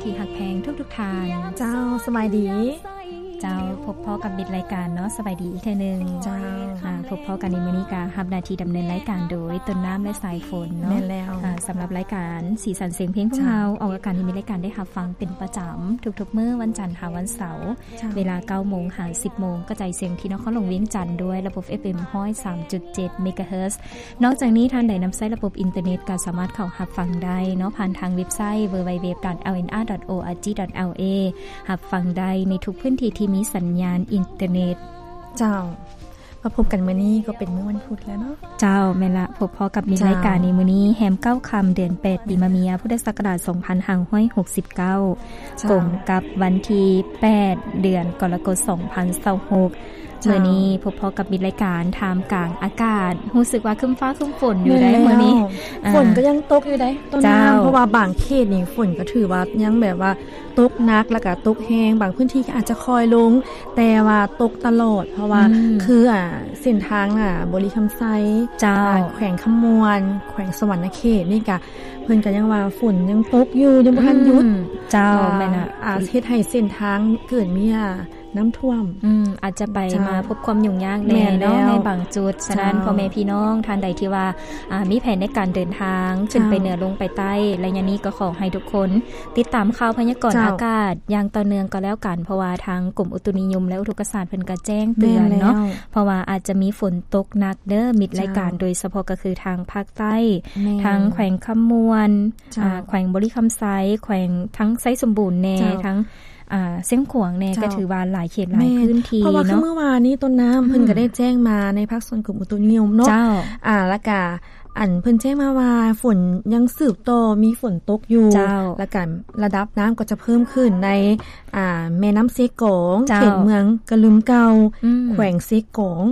ທີ່ຮັກແພງທຸກໆທ່ານ. ເຈົ້າ ສະບາຍດີ. ເຈົ້າ ພົບພໍ້ກັບມິດລາຍການເນາະ, ສະບາຍດີອີກເທື່ອໜຶ່ງ. ເຈົ້າ ອ່າ ພົບພໍ້ກັນໃນມື້ນີ້ກະຮັບໜ້າທີ່ດຳເນີນລາຍການໂດຍຕົ້ນນ້ຳ ແລະ ສາຍຝົນເນາະ. ແມ່ນແລ້ວ. ອ່າ ສຳລັບລາຍການສີສັນສຽງເພງຂອງເຮົາ ເຈົ້າ ອອກອາກາດໃນມິດລາຍການໄດ້ຮັບຟັງເປັນປະຈຳທຸກໆມື້ວັນຈັນຫາວັນເສົາ ເຈົ້າ ເວລາເກົ້າໂມງຫາສິບໂມງ ກະຈາຍສຽງທີ່ນະຄອນຫຼວງວຽງຈັນດ້ວຍລະບົບ ເອັຟເອັມ ຮ້ອຍສາມຈຸດເຈັດ ເມກາເຮີດ. ນອກຈາກນີ້ ທ່ານໃດນຳໃຊ້ລະບົບອິນເຕີເນັດກໍສາມາດເຂົ້າຮັບຟັງໄດ້ເນາະ ຜ່ານທາງເວັບໄຊ www.lnr.org.la ຮັບຟັງໄດ້ໃນທຸກພື້ນທີ່ທີ່ມີສັນຍານອິນເຕີເນັດ. ເຈົ້າ ມາພົບກັນມື້ນີ້ກໍເປັນມື້ວັນພຸດແລ້ວເນາະ. ເຈົ້າ ແມ່ນລະ, ພົບພໍ້ກັບມິດລາຍການໃນມື້ນີ້ ເຈົ້າ ແຮມເກົ້າຄ່ຳ ເດືອນແປດ ປີມະເມຍ ພຸດທະສັກກະລາດ ສອງພັນຫ້າຮ້ອຍຫົກສິບເກົ້າ ເຈົ້າ ກົງກັບວັນທີແປດ ເດືອນກໍລະກົດ ສອງພັນຊາວຫົກ. ເຈົ້າ ມື້ນີ້ພົບພໍ້ກັບມິດລາຍການທ່າມກາງອາກາດ ຮູ້ສຶກວ່າຄຶ້ມຟ້າຄຶ້ມຝົນຢູ່ໃດ໋ມື້ນີ້. ແມ່ນແລ້ວ. ອ່າ ຝົນກໍຍັງຕົກຢູ່ໃດ໋ຕົ້ນນ້ຳ. ເຈົ້າ ເພາະວ່າບາງເຂດນີ້ຝົນກໍຖືວ່າຍັງແບບວ່າຕົກໜັກ ແລ້ວກໍຕົກແຮງ, ບາງພື້ນທີ່ກໍອາດຈະຄ່ອຍລົງ ແຕ່ວ່າຕົກຕະຫຼອດ ເພາະວ່າ ອືມ ຄື ອ່າ ເສັ້ນທາງ ອ່າ ບໍລິຄຳໄຊ ເຈົ້າ ອ່າ ແຂວງຄຳມ່ວນ ແຂວງສະຫວັນນະເຂດນີ້ກະ ເພິ່ນກໍຍັງວ່າຝົນຍັງຕົກຢູ່ ຍັງບໍ່ທັນຢຸດ. ອືມ ເຈົ້າ ອ່າ ແມ່ນລະ. ອ່າ ເຮັດໃຫ້ເສັ້ນທາງເກີດມີ ອ່າ ນ້ຳຖ້ວມ. ອືມ ອາດຈະໄປ ເຈົ້າ ມາພົບຄວາມຫຍຸ້ງຍາກແດ່ເນາະ ແມ່ນແລ້ວ ໃນບາງຈຸດ. ສະນັ້ນ ເຈົ້າ ພໍ່ແມ່ພີ່ນ້ອງທ່ານໃດທີ່ວ່າ ອ່າ ມີແຜນໃນການເດີນທາງ ເຈົ້າ ຂຶ້ນໄປເໜືອລົງໄປໃຕ້ ໄລຍະນີ້ກໍຂໍໃຫ້ທຸກຄົນຕິດຕາມຂ່າວພະຍາກອນ ເຈົ້າ ອາກາດຢ່າງຕໍ່ເນື່ອງກໍແລ້ວກັນ ເພາະວ່າທາງກົມອຸຕຸນິຍົມ ແລະ ອຸທົກກະສາດເພິ່ນກໍແຈ້ງເຕືອນເນາະ. ແມ່ນແລ້ວ. ເພາະວ່າອາດຈະມີຝົນຕົກໜັກເດີ ມິດລາຍການ. ເຈົ້າ ໂດຍສະເພາະກໍຄືທາງພາກໃຕ້ ແມ່ນ ທາງແຂວງຄຳມ່ວນ ເຈົ້າ ອ່າ ແຂວງບໍລິຄຳໄຊ ແຂວງທັງໄຊສົມບູນແດ່ ເຈົ້າ ທັງ ອ່າ ຊຽງຂວາງແດ່ ເຈົ້າ ກໍຖືວ່າຫຼາຍເຂດຫຼາຍ ແມ່ນ ພື້ນທີ່ ເພາະວ່າເນາະ ຄືມື້ວານນີ້ຕົ້ນນ້ຳ ອືມ ເພິ່ນກໍໄດ້ແຈ້ງມາໃນພາກສ່ວນກົມອຸຕຸນິຍົມເນາະ. ເຈົ້າ ອ່າ ແລ້ວກະ ອັນ ເພິ່ນແຈ້ງມາວ່າຝົນຍັງສືບຕໍ່ມີຝົນຕົກຢູ່. ເຈົ້າ ແລ້ວກະລະດັບນ້ຳກໍຈະເພີ່ມຂຶ້ນໃນ ອ່າ ແມ່ນ້ຳເຊກອງ ເຈົ້າ ເຂດເມືອງກະລຶມເກົ່າ ອືມ ແຂວງເຊກອງ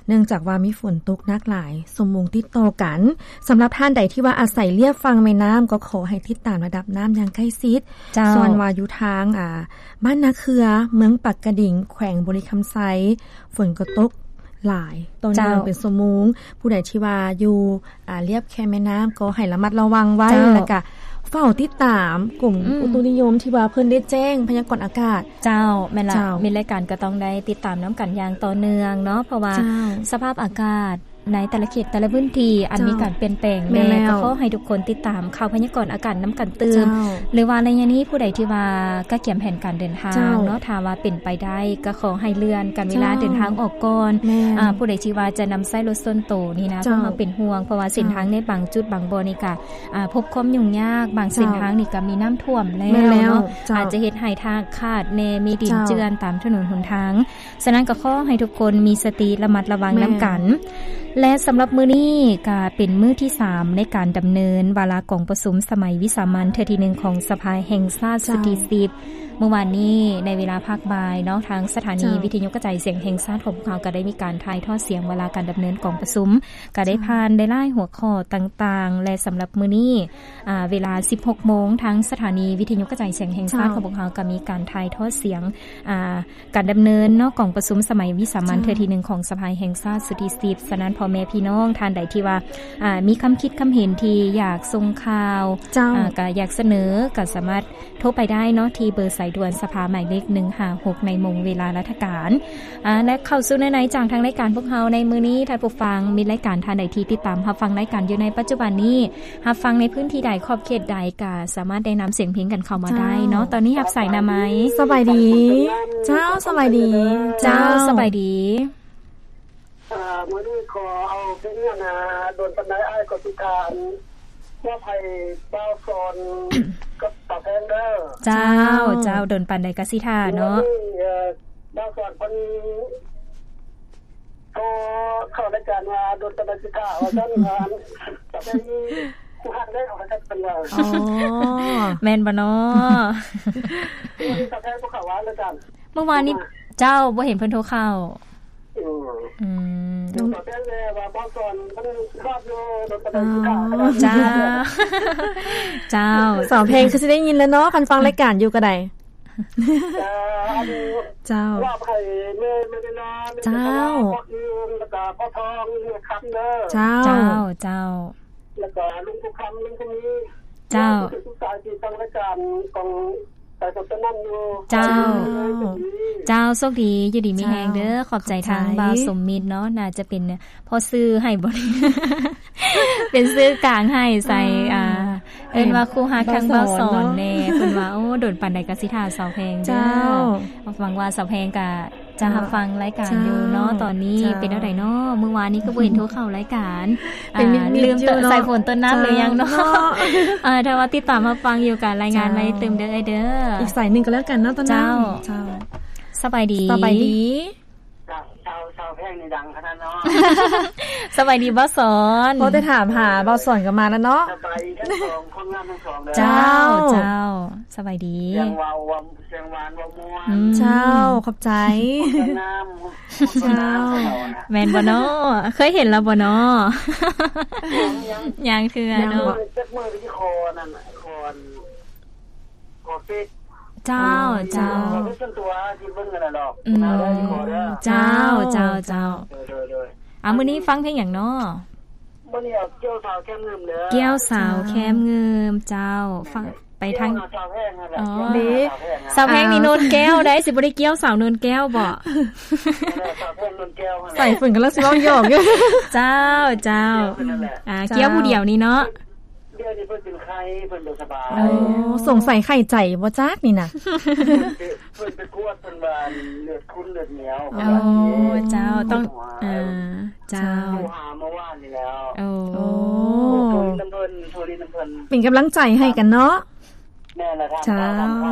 ເນື່ອງຈາກວ່າມີຝົນຕົກໜັກຫຼາຍຊົ່ວໂມງຕິດຕໍ່ກັນ. ສຳລັບທ່ານໃດທີ່ວ່າອາໄສລຽບຝັ່ງແມ່ນ້ຳ ກໍຂໍໃຫ້ຕິດຕາມລະດັບນ້ຳຢ່າງໃກ້ຊິດ. ເຈົ້າ ສ່ວນວ່າຢູ່ທາງ ອ່າ ບ້ານນາເຄືອ ເມືອງປາກກະດິງ ແຂວງບໍລິຄຳໄຊ ຝົນກໍຕົກຫຼາຍຕໍ່ເນື່ອງ ເຈົ້າ ເປັນຊົ່ວໂມງ. ຜູ້ໃດທີ່ວ່າຢູ່ ອ່າ ລຽບແຄມແມ່ນ້ຳກໍໃຫ້ລະມັດລະວັງໄວ້. ເຈົ້າ ແລ້ວກະເຝົ້າຕິດຕາມກົມ ອືມ ອຸຕຸນິຍົມທີ່ວ່າເພິ່ນໄດ້ແຈ້ງພະຍາກອນອາກາດ. ເຈົ້າ ແມ່ນລະ. ເຈົ້າ ມິດລາຍການກໍຕ້ອງໄດ້ຕິດຕາມນຳກັນຢ່າງຕໍ່ເນື່ອງເນາະ ເພາະວ່າ ເຈົ້າ ສະພາບອາກາດໃນແຕ່ລະເຂດແຕ່ລະພື້ນທີ່ ອັນ ເຈົ້າ ມີການປ່ຽນແປງແດ່. ແມ່ນແລ້ວ. ກໍຂໍໃຫ້ທຸກຄົນຕິດຕາມຂ່າວພະຍາກອນອາກາດນຳກັນຕື່ມ. ເຈົ້າ ຫຼືວ່າໄລຍະນີ້ຜູ້ໃດທີ່ວ່າກະກຽມແຜນການເດີນທາງ ເຈົ້າ ເນາະ ຖ້າວ່າເປັນໄປໄດ້ ກໍຂໍໃຫ້ເລື່ອນການເວລາ ເຈົ້າ ເດີນທາງອອກກ່ອນ. ແມ່ນ. ອ່າ ຜູ້ໃດທີ່ວ່າຈະນຳໃຊ້ລົດສ່ວນໂຕນີ້ນະ ເຈົ້າ ພວກເຮົາເປັນຫ່ວງ ເພາະວ່າເສັ້ນທາງ ເຈົ້າ ໃນບາງຈຸດບາງບ່ອນນີ້ກະ ອ່າ ພົບຄວາມຫຍຸ້ງຍາກ, ບາງເສັ້ນທາງນີ້ກະມີນ້ຳຖ້ວມແລ້ວເນາະ. ແມ່ນແລ້ວ. ເຈົ້າ. ອາດຈະເຮັດໃຫ້ທາງຂາດແດ່ ມີດິນ ເຈົ້າ ເຈື່ອນຕາມຖະໜົນຫົນທາງ. ສະນັ້ນກໍຂໍໃຫ້ທຸກຄົນມີສະຕິລະມັດລະວັງ ແມ່ນ ນຳກັນ. ແລະ ສຳລັບມື້ນີ້ກໍເປັນມື້ທີສາມໃນການດຳເນີນວາລະກອງປະຊຸມສະໄໝວິສາມັນເທື່ອທີໜຶ່ງຂອງສະພາແຫ່ງຊາດ ເຈົ້າ ຊຸດທີສິບ. ມື້ວານນີ້ໃນເວລາພາກບ່າຍເນາະ ທາງສະຖານີ ເຈົ້າ ວິທະຍຸກະຈາຍສຽງແຫ່ງຊາດຂອງພວກເຮົາກໍໄດ້ມີການຖ່າຍທອດສຽງວາລະການດຳເນີນກອງປະຊຸມ ກໍໄດ້ ເຈົ້າ ຜ່ານໄດ້ຫຼາຍຫົວຂໍ້ຕ່າງໆ. ແລະ ສຳລັບມື້ນີ້ ອ່າ ເວລາສິບຫົກໂມງ ທາງສະຖານີວິທະຍຸກະຈາຍສຽງແຫ່ງຊາດ ເຈົ້າ ຂອງພວກເຮົາກໍມີການຖ່າຍທອດສຽງ ອ່າ ການດຳເນີນເນາະ ກອງປະຊຸມສະໄໝວິສາມັນ ເຈົ້າ ເທື່ອທີໜຶ່ງຂອງສະພາແຫ່ງຊາດຊຸດທີສິບ. ສະນັ້ນ ພໍ່ແມ່ພີ່ນ້ອງທ່ານໃດທີ່ວ່າ ອ່າ ມີຄຳຄິດຄຳເຫັນທີ່ຢາກສົ່ງຂ່າວ ເຈົ້າ ອ່າ ກະຢາກສະເໜີ ກະສາມາດໂທໄປໄດ້ເນາະ ທີ່ເບີສາຍດ່ວນສະພາໝາຍເລກໜຶ່ງຫ້າຫົກ ໃນໂມງເວລາລັດຖະການ. ອ່າ ແລະ ເຂົ້າສູ່ເນື້ອໃນຈາກທາງລາຍການພວກເຮົາໃນມື້ນີ້ ທ່ານຜູ້ຟັງ ມິດລາຍການທ່ານໃດທີ່ຕິດຕາມຮັບຟັງລາຍການຢູ່ໃນປັດຈຸບັນນີ້ ຮັບຟັງໃນພື້ນທີ່ໃດ ຂອບເຂດໃດ ກະສາມາດແນະນຳສຽງເພງກັນເຂົ້າມາໄດ້ເນາະ. ເຈົ້າ ຕອນນີ້ຮັບສາຍນຳໄໝ? ສະບາຍດີ. ເຈົ້າ ສະບາຍດີ. ເຈົ້າ ເຈົ້າ ສະບາຍດີ. ອ່າ ມື້ນີ້ຂໍເອົາເພງອັນນ່າ ດົນປານໃດອ້າຍກໍຊິຖ້າ ມອບໃຫ້ບ່າວສອນກັບສາວແພງເດີ. ເຈົ້າ ເຈົ້າ ເຈົ້າ ດົນປານໃດກໍຊິຖ້າເນາະ. ມື້ນີ້ ເອີ ບ່າວສອນເພິ່ນ ໂທເຂົ້າລາຍການວ່າ ດົນປານໃດຊິຖ້າ ວ່າຊັ້ນ. ສາວແພງມີຄູ່ຮັກແລ້ວ ວ່າຊັ້ນເພິ່ນວ່າ. ອໍ ແມ່ນບໍ່ນໍ? ມື້ນີ້ສາວແພງບໍ່ເຂົ້າວ່າລາຍການ. ເມື່ອວານນີ້ ເຈົ້າ ບໍ່ເຫັນເພິ່ນໂທເຂົ້າ. ອືມ ອືມ ສາວແພງແດ່ວ່າບ່າວສອນເພິ່ນຮອດຢູ່ ລົດປະໄດ ອໍ ເຈົ້າ ເຈົ້າ ສາວແພງຄືຊິໄດ້ຍິນແລ້ວເນາະ ຄັນຟັງລາຍການຢູ່ກໍໄດ້. ເຈົ້າ ເຈົ້າ ມອບໃຫ້ແມ່ ແມ່ເວລາ ແມ່ ເຈົ້າ ເວລາ ພໍ່ອື່ນ ແລ້ວກໍພໍ່ທອງ ແມ່ຄຳເດີ. ເຈົ້າ ເຈົ້າ ເຈົ້າ ແລ້ວກໍລຸງຜູ້ຄຳ ລຸງຜູ້ມີ. ເຈົ້າ ເຈົ້າ ເຈົ້າ ໂຊກດີ ຢູ່ດີມີແຮງເດີ. ຂອບໃຈທາງບ່າວສົມມິດເນາະ ໜ້າຈະເປັນພໍ່ຊື່ໃຫ້ບໍ ເປັນຊື່ກາງໃຫ້ໃສ່ ອ່າ ເອີ້ນວ່າຄູ່ຮັກທາງບ່າວສອນແດ່. ເພິ່ນວ່າ ໂອ້ ດົນປານໃດກໍຊິຖ້າສາວແພງເດີ. ຫວັງວ່າສາວແພງກະ ຈະຮັບຟັງລາຍການຢູ່ເນາະ. ຕອນນີ້ເປັນແນວໃດເນາະ? ມື້ວານນີ້ຄືບໍ່ເຫັນໂທເຂົ້າລາຍການ ເປັນມິດໆ ອ່າ ລືມເຕີ ຢູ່ເນາະ ສາຍຝົນຕົ້ນນ້ຳຫຼືຍັງເນາະ? ເນາະ ເອີ ຖ້າວ່າຕິດຕາມຮັບຟັງຢູ່ ກະລາຍງານມາຕື່ມເດີເອື້ອຍເດີ. ເຈົ້າ ອີກສາຍໜຶ່ງກໍແລ້ວກັນເນາະ ຕອນນີ້. ເຈົ້າ ເຈົ້າ ສະບາຍດີ ສະບາຍດີ. ເຈົ້າ ເຈົ້າ ສາວແພງນີ້ດັງຂະໜາດເນາະ. ສະບາຍດີບ່າວສອນ. ພໍແຕ່ຖາມຫາບ່າວສອນກໍມາແລ້ວເນາະ. ສະບາຍດີທັງສອງ ຄົນງາມທັງສອງເດີ. ເຈົ້າ ເຈົ້າ ເຈົ້າ ສະບາຍດີ. ສຽງເວົ້າ ສຽງຫວານເວົ້າມ່ວນ. ອືມ ເຈົ້າ ຂອບໃຈ. ຄົນງາມ ເຈົ້າ ແມ່ນບໍ່ເນາະ? ເຄີຍເຫັນແລ້ວບໍ່ເນາະ? ຍັງ ຍັງເທື່ອເນາະ. ຈັກມື້ທີ່ຂໍນັ້ນ ຂໍ ຂໍເຟສ. ເຈົ້າ ເຈົ້າ ຂໍເຟສສ່ວນຕົວທີ່ເບິ່ງກັນນະດອກ. ອືມ ເຈົ້າ ເຈົ້າ ເຈົ້າ. ໂດຍ ໂດຍ ໂດຍ. ອ່າ ມື້ນີ້ຟັງເພງຫຍັງເນາະ? ມື້ນີ້ເອົາກ່ຽວສາວແຄມງື່ມເດີ. ກ່ຽວສາວແຄມງື່ມ ເຈົ້າ ຟັງ ໄປທາງ ກ່ຽວຫາສາວແພງຫັ້ນແຫຼະ. ອໍ ເດ້ ສາວແພງນີ້ໂນນແກ້ວໄດ໋ ຊິບໍ່ໄດ້ກ່ຽວສາວໂນນແກ້ວບໍ? ສາວແພງໂນນແກ້ວຫັ້ນແຫຼະ. ສາຍຝົນກຳລັງຊິເວົ້າຫຍອກຢູ່. ເຈົ້າ ເຈົ້າ ກ່ຽວຜູ້ດຽວນີ້ເນາະ. ດຽວນີ້ເພິ່ນເປັນໄຂ້ ເພິ່ນບໍ່ສະບາຍ. ໂອ້ ສົງໄສໄຂ້ໃຈບໍ່ຈັກນີ້ນະ. ເພິ່ນໄປ ເພິ່ນໄປກວດ ເພິ່ນວ່າເລືອດຂຸ້ນເລືອດໜຽວ. ໂອ້ ເຈົ້າ ຕ້ອງ ເອີ ເຈົ້າ ໂທຫາເມື່ອວານນີ້ແລ້ວ. ໂອ້ ໂທຫຼິ້ນນຳເພິ່ນ ໂທຫຼິ້ນນຳເພິ່ນ. ເປັນກຳລັງໃຈໃຫ້ກັນເນາະ. ແມ່ນລະ ເຈົ້າ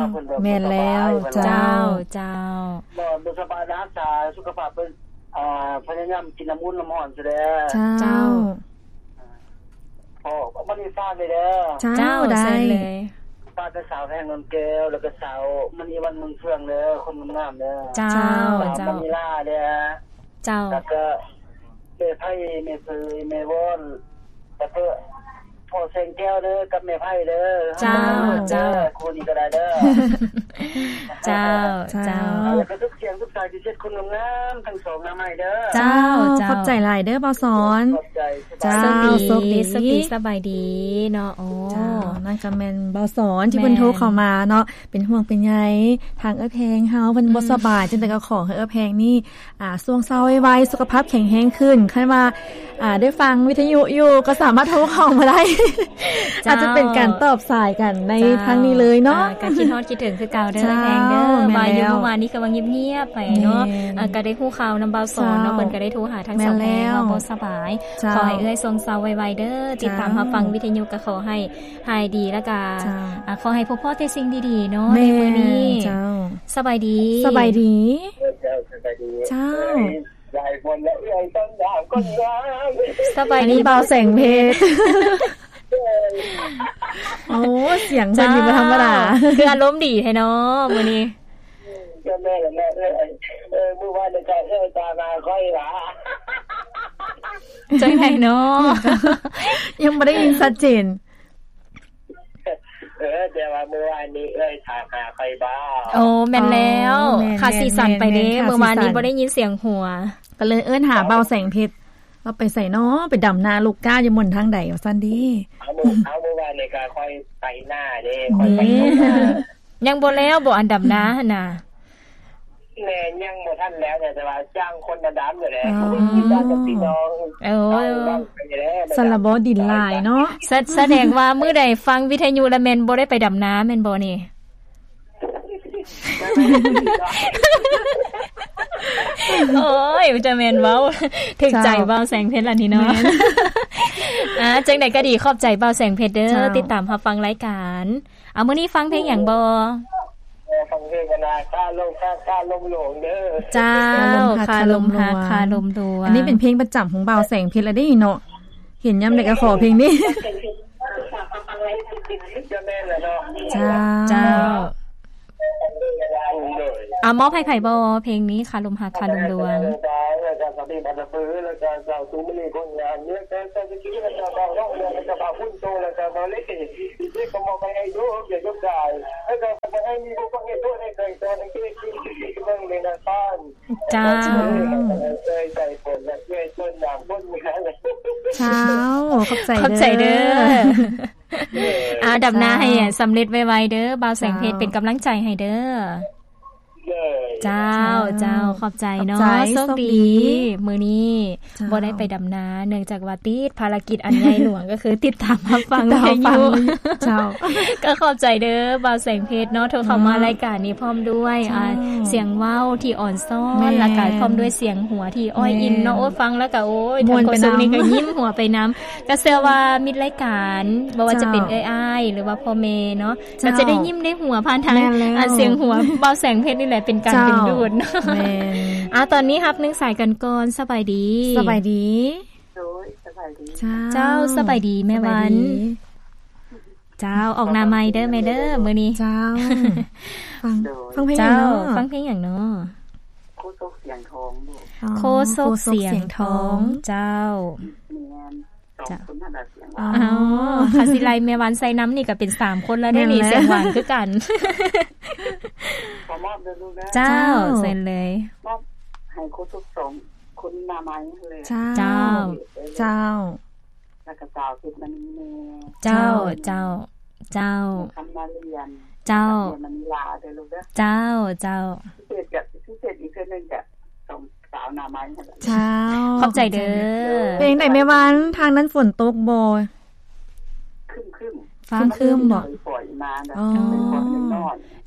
ແມ່ນແລ້ວ. ເຈົ້າ ເຈົ້າ ບໍ່ ບໍ່ສະບາຍ ຮັກສາສຸຂະພາບເພິ່ນ. ອ່າ ພະຍາຍາມກິນນ້ຳອຸ່ນນ້ຳຮ້ອນຊະແດ່. ເຈົ້າ ເຈົ້າ. ອໍ ບັດນີ້ຝາກເລີຍເດີ. ເຈົ້າ ເຈົ້າ ໄດ້ ເຊີນເລີຍ. ຝາກແຕ່ສາວແພງ ນວນແກ້ວ ແລ້ວກໍສາວມະນີວັນ ເມືອງເຟືອງເດີ ຄົນງາມໆເດີ. ເຈົ້າ ເຈົ້າ ສາວມະນີລາເດີ. ເຈົ້າ ແລ້ວກໍແມ່ໄພ ແມ່ເຜີຍ ແມ່ວອນ ແລ້ວກໍພໍ່ແສງແກ້ວເດີ ກັບແມ່ໄພເດີ. ເຈົ້າ ເຈົ້າ ຄູ່ນີ້ກໍໄດ້ເດີ. ເຈົ້າ ເຈົ້າ ເຈົ້າ ແລ້ວກໍທຸກສຽງທຸກສາຍທີ່ເຊັດຄົນງາມໆທັງສອງນຳໃຫ້ເດີ. ເຈົ້າ ເຈົ້າ ຂອບໃຈຫຼາຍເດີບ່າວສອນ. ຂອບໃຈ. ເຈົ້າ ໂຊກດີ ໂຊກດີ ໂຊກດີ ສະບາຍດີເນາະ. ໂອ້ ເຈົ້າ ນັ້ນກໍແມ່ນບ່າວສອນທີ່ເພິ່ນ ແມ່ນ ໂທເຂົ້າມາເນາະ ເປັນຫ່ວງເປັນໃຍທາງເອື້ອຍແພງເຮົາ ເພິ່ນ ອືມ ບໍ່ສະບາຍ ຈັ່ງໃດກໍຂໍໃຫ້ເອື້ອຍແພງນີ້ ອ່າ ຊ່ວງເຊົາໄວໆ ສຸຂະພາບແຂງແຮງຂຶ້ນ. ຄັນວ່າ ອ່າ ໄດ້ຟັງວິທະຍຸຢູ່ ກໍສາມາດໂທເຂົ້າມາໄດ້. ເຈົ້າ ອາດຈະເປັນການຕອບສາຍກັນໃນ ເຈົ້າ ທາງນີ້ເລີຍເນາະ. ອ່າ ກໍຄິດຮອດຄິດເຖິງຄືເກົ່າເດີ ເຈົ້າ ເອື້ອຍແພງເດີ. ແມ່ນແລ້ວ ວ່າຢູ່ເມື່ອວານນີ້ຄືວ່າງຽບໆໄປເນາະ. ແມ່ນ ອ່າ ກໍໄດ້ຮູ້ຂ່າວນຳບ່າວສອນເນາະ. ເຈົ້າ ເພິ່ນກໍໄດ້ໂທຫາທັງ ແມ່ນແລ້ວ ສາວແພງ ເວົ້າບໍ່ສະບາຍ. ເຈົ້າ ຂໍໃຫ້ເອື້ອຍຊົງເຊົາໄວໆເດີ. ເຈົ້າ ຕິດຕາມຮັບຟັງວິທະຍຸ ກໍຂໍໃຫ້ ຫາຍດີ ແລ້ວກະ ເຈົ້າ ອ່າ ຂໍໃຫ້ພົບພໍ້ແຕ່ສິ່ງດີໆເນາະ ແມ່ນ ໃນມື້ນີ້. ເຈົ້າ ສະບາຍດີ ສະບາຍດີ. ເຈົ້າ ສະບາຍດີ. ເຈົ້າ ເອື້ອຍ ຫຼາຍຄົນແລ້ວ ເອື້ອຍຕ້ອງຖາມຄົນງາມ. ສະບາຍດີ ອັນນີ້ບ່າວແສງເພັດ. ໂອ້ ສຽງເພິ່ນນີ້ບໍ່ທຳມະດາ. ເຈົ້າ ຄືອາລົມດີແທ້ເນາະມື້ນີ້. ກໍແມ່ນແຫຼະ ເອື້ອຍ ເອີ ມື້ວານນີ້ກໍເອື້ອຍຕາມຫາຂ້ອຍວ່າ ຈັ່ງໃດເນາະ? ຍັງບໍ່ໄດ້ຍິນຊັດເຈນ. ເອີ ແຕ່ວ່າມື້ວານນີ້ເອື້ອຍຖາມຫາຂ້ອຍບໍ່? ໂອ້ ແມ່ນແລ້ວ. ອໍ ແມ່ນ ຂາດສີສັນໄປເດ້. ແມ່ນ ແມ່ນ ຂາດສີສັນ ມື້ວານນີ້ບໍ່ໄດ້ຍິນສຽງຫົວ ກໍເລີຍເອີ້ນຫາບ່າວແສງເພັດ. ລາວໄປໃສນໍ? ໄປດຳນາລູກກ້າຢູ່ໝົນທາງໃດວ່າຊັ້ນເດ້. ເອົາ ມື້ ເອົາ ມື້ວານນີ້ກໍຂ້ອຍໄປນາເດ້. ຂ້ອຍໄປນາ. ຍັງບໍ່ແລ້ວບໍ່ ອັນດຳນາຫັ້ນນະ? ແມ່ນ ຍັງບໍ່ທັນແລ້ວ ແຕ່ວ່າຈ້າງຄົນມາດຳຢູ່ແຫຼະ. ອໍ ຈ້າງກັບພີ່ນ້ອງ. ໂອ້ ຊັ້ນລະບໍ ດິນຫຼາຍເນາະ. ສະ ສະແດງວ່າມື້ໃດຟັງວິທະຍຸລະແມ່ນບໍ່ໄດ້ໄປດຳນາແມ່ນບໍ່ນີ້? ໂອ້ຍ ຈະແມ່ນເວົ້າ ຖືກໃຈ ເຈົ້າ ບ່າວແສງເພັດລະນີ້ເນາະ. ແມ່ນ ອ່າ ຈັ່ງໃດກໍດີ ຂອບໃຈບ່າວແສງເພັດເດີ ເຈົ້າ ຕິດຕາມຮັບຟັງລາຍການ. ເອົາ ມື້ນີ້ຟັງເພງຫຍັງບໍ່? ເອີ ຟັງເພງກັນນະ ຄາລົມຮັກ ຄາລົມຫຼວງເດີ. ເຈົ້າ ຄາລົມຮັກ ຄາລົມຫຼວງ ຄາລົມຫຼວງ. ອັນນີ້ເປັນເພງປະຈຳຂອງບ່າວແສງເພັດລະເດ້ເນາະ. ເຫັນຍາມໃດກໍຂໍເພງນີ້. ຈະແມ່ນລະເນາະ. ເຈົ້າ ເຈົ້າ. ໂດຍ ອ່າ ມອບໃຫ້ໃຜບໍ່ ເພງນີ້ ຄາລົມຮັກ ຄາລົມຫຼວງ? ແລ້ວກໍສາມີພັນນະປື ແລ້ວກໍສາວຕູມະລີຄົນງາມ ແລ້ວກໍສາວສະກີ ແລ້ວກໍບ່າວນ້ອງ ແລ້ວກໍບ່າວພຸ້ນໂຕ ແລ້ວກໍບ່າວເລັກ ທີ່ກໍມອບໄປໃຫ້ໂຍມ ໂຍມກາຍ ແລ້ວກໍບໍ່ໃຫ້ມີຜູ້ຟັງເຮັດໂທດໃຫ້ໃຜ ແຕ່ໃຫ້ເກີດເບິ່ງໃນນາຄານ. ເຈົ້າ ເອີຍ ໃຈຝົນ ແລະ ເອີຍຕົ້ນນາມບົນ. ເຈົ້າ ຂອບໃຈ ຂອບໃຈເດີ ເດີ. ອ່າ ດຳນາໃຫ້ສຳເລັດໄວໆເດີ ບ່າວແສງເພັດ ເຈົ້າ ເປັນກຳລັງໃຈໃຫ້ເດີ. ເຈົ້າ ເຈົ້າ ຂອບໃຈເນາະ ໂຊກດີ ມື້ນີ້ບໍ່ໄດ້ໄປດຳນາ ເນື່ອງຈາກວ່າຕິດພາລະກິດອັນໃຫຍ່ຫຼວງ ກໍຄືຕິດຕາມຮັບຟັງວິທະຍຸ. ເຈົ້າ ກໍຂອບໃຈເດີ ບ່າວແສງເພັດເນາະ ໂທເຂົ້າມາລາຍການນີ້ພ້ອມດ້ວຍ ອ່າ ສຽງເວົ້າທີ່ອ່ອນຊ້ອນ ແລ້ວກໍພ້ອມດ້ວຍສຽງຫົວທີ່ອ້ອຍອິນເນາະ. ໂອ້ຍ ຟັງແລ້ວກໍ ໂອ້ຍ ທາງໂຄສົກນີ້ກໍຍິ້ມຫົວໄປນຳ. ກໍເຊື່ອວ່າມິດລາຍການ ບໍ່ວ່າຈະເປັນເອື້ອຍອ້າຍ ຫຼືວ່າພໍ່ແມ່ເນາະ ກໍຈະໄດ້ຍິ້ມໄດ້ຫົວຜ່ານທາງ ອ່າ ສຽງຫົວບ່າວແສງເພັດນີ້ແຫຼະ ເປັນການດຶງດູດເນາະ. ອ່າ ຕອນນີ້ຮັບໜຶ່ງສາຍກັນກ່ອນ. ສະບາຍດີ ສະບາຍດີ. ໂດຍ ສະບາຍດີ. ເຈົ້າ ສະບາຍດີແມ່ວັນ. ເຈົ້າ ອອກໜ້າໃໝ່ເດີແມ່ເດີ ມື້ນີ້. ເຈົ້າ ຟັງເພງຫຍັງເນາະ? ຟັງເພງຫຍັງເນາະ? ໂຄສົກສຽງທອງ. ອໍ ໂຄສົກສຽງທອງ. ເຈົ້າ ແມ່ນ ສອງຄົນນັ້ນລະສຽງ. ອໍ ຄັນຊິໄລ່ແມ່ວັນໃສ່ນຳນີ້ກໍເປັນສາມຄົນແລ້ວເດ້ນີ້ ສຽງຫວານຄືກັນ. ຂໍມອບເດີລູກເດີ. ເຈົ້າ ເຈົ້າ ເຊີນເລີຍ. ມອບໃຫ້ໂຄສົກສອງຄົນໜ້າໃໝ່ເລີຍ. ເຈົ້າ ເຈົ້າ ເຈົ້າ ແລ້ວກໍສາວເພັດມະນີແນ່. ເຈົ້າ ເຈົ້າ ເຈົ້າ ຄຳມາລຽນ. ເຈົ້າ ມະນີລາເດີລູກເດີ. ເຈົ້າ ເຈົ້າ ພິເສດ ພິເສດອີກເທື່ອໜຶ່ງກະສອງສາວໜ້າໃໝ່ຫັ້ນລະ. ເຈົ້າ ຂອບໃຈເດີ. ເປັນຈັ່ງໃດແມ່ວັນ ທາງນັ້ນຝົນຕົກບໍ່? ຄຶ້ມໆ ຄຶ້ມໆບໍ່?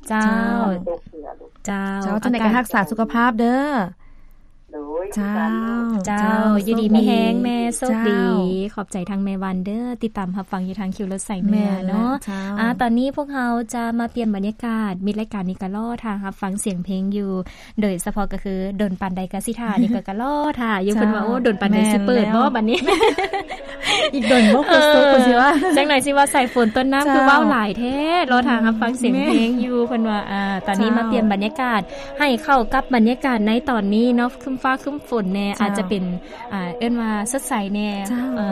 ເຈົ້າ ເຈົ້າ ເຈົ້າ ຈັ່ງໃດກໍຮັກສາສຸຂະພາບເດີ. ໂດຍ ເຈົ້າ ເຈົ້າ ຢູ່ດີມີແຮງແມ່ ໂຊກດີ. ຂອບໃຈທາງແມ່ວັນເດີ ຕິດຕາມຮັບຟັງຢູ່ທາງຄິວລົດສາຍເໜືອເນາະ. ອ່າ ຕອນນີ້ພວກເຮົາຈະມາປ່ຽນບັນຍາກາດ ມິດລາຍການນີ້ກໍລໍຖ້າຮັບຟັງສຽງເພງຢູ່ ໂດຍສະເພາະກໍຄືດົນປານໃດກໍຊິຖ້າ ນີ້ກໍ ກໍລໍຖ້າຢູ່. ເພິ່ນວ່າ ໂອ້ ດົນປານໃດຊິເປີດບໍ່ບັດນີ້? ອີກດົນບໍ່ ໂຄສົກ ເພິ່ນຊິວ່າ ຈັກໜ່ອຍຊິວ່າສາຍຝົນຕົ້ນນ້ຳ ຄືເວົ້າຫຼາຍແທ້ ລໍຖ້າຮັບຟັງສຽງເພງຢູ່. ເພິ່ນວ່າ ອ່າ ຕອນນີ້ມາປ່ຽນບັນຍາກາດ ໃຫ້ເຂົ້າກັບບັນຍາກາດໃນຕອນນີ້ເນາະ ຄຶ້ມຟ້າຄຶ້ມຝົນແນ່ ອາດຈະເປັນ ອ່າ ເອີ້ນວ່າສົດໃສແນ່. ເອີ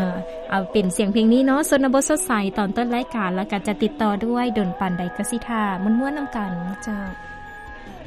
ເອົາເປັນສຽງເພງນີ້ເນາະ ຊົນນະບົດສົດໃສ ຕອນຕົ້ນລາຍການ ແລ້ວກໍຈະຕິດຕໍ່ດ້ວຍ ດົນປານໃດກໍຊິຖ້າ ມ່ວນໆນຳກັນ. ເຈົ້າ.